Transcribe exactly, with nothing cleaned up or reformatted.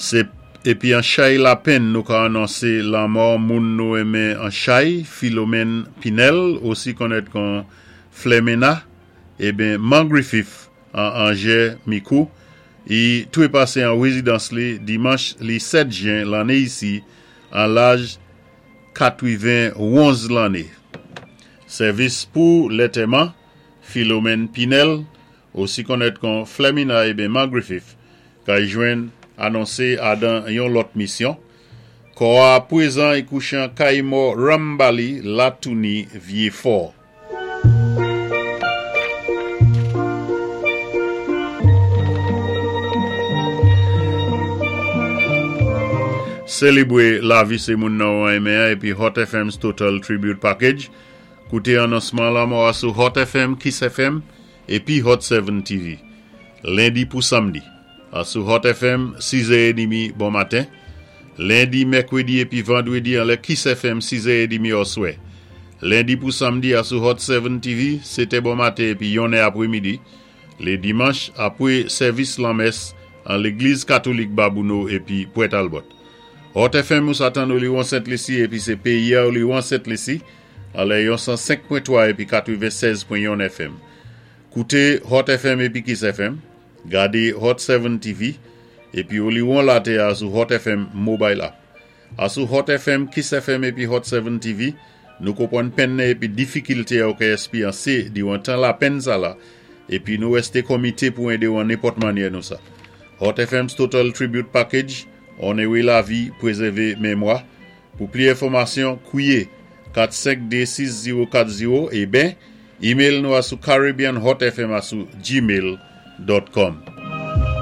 Sé épi an chay lapenn nou ka anonsé lanmò moun nou enmen an chay, Philomène Pinel, osi konnèt kon Flemena, eben Mangriffith an Angers Micoud, i toué pasé an wézidans li dimanch li sèt jen lanné isi an laj katwiven-wonz lanné. Sèvis pou lantèman, Philomène Pinel, osi konnèt kon Flemina eben Mangriffith, kay jwenn anonsé adan yon lòt misyon. Kò a pwézan i kouché an kay mò Rambali Latouni Vieux-Fort. Sélébwé lavi sé moun nou enmen épi Hot F M's Total Tribute Package. Kouté anonsman lanmò a sou Hot F M, Kiss F M épi Hot sept T V. Lendi pou samdi. A sou Hot F M, sis è edmi bon maten. Lendi, mèkwédi épi vandwédi an lè Kiss F M, sis è edmi oswè. Lendi pou samdi a sou Hot sept T V, sétè bon maten épi yonnè apwémidi. Lé dimanch, apwé sèvis lanmès an légliz katolik Babouno épi Pointe Talbot. Hot F M ou sa tann Oliwon Sent Lisi épi sé péyi a Oliwon Sent Lisi an lè yon san senk pwen twa épi katwennsèz pwen yon F M. Kouté Hot F M épi Kiss F M, gadé Hot sept T V épi Oliwon latè a sou Hot F M Mobile App. A sou Hot F M, Kiss F M épi Hot sept T V, nou konpwann penn épi difikilté ou ka èspéryansé diwan tan lapenn sa la épi nou wèsté komité pou édé ou an nenpòt mannyè nou sa. Hot F M's Total Tribute Package, onowé lavi, pwézèvé mémwa. Pou plis enfòmasyon, kwié kat senk de sis zewo kat zewo eben email nou a sou caribbeanhotfm a sou gmail dot com.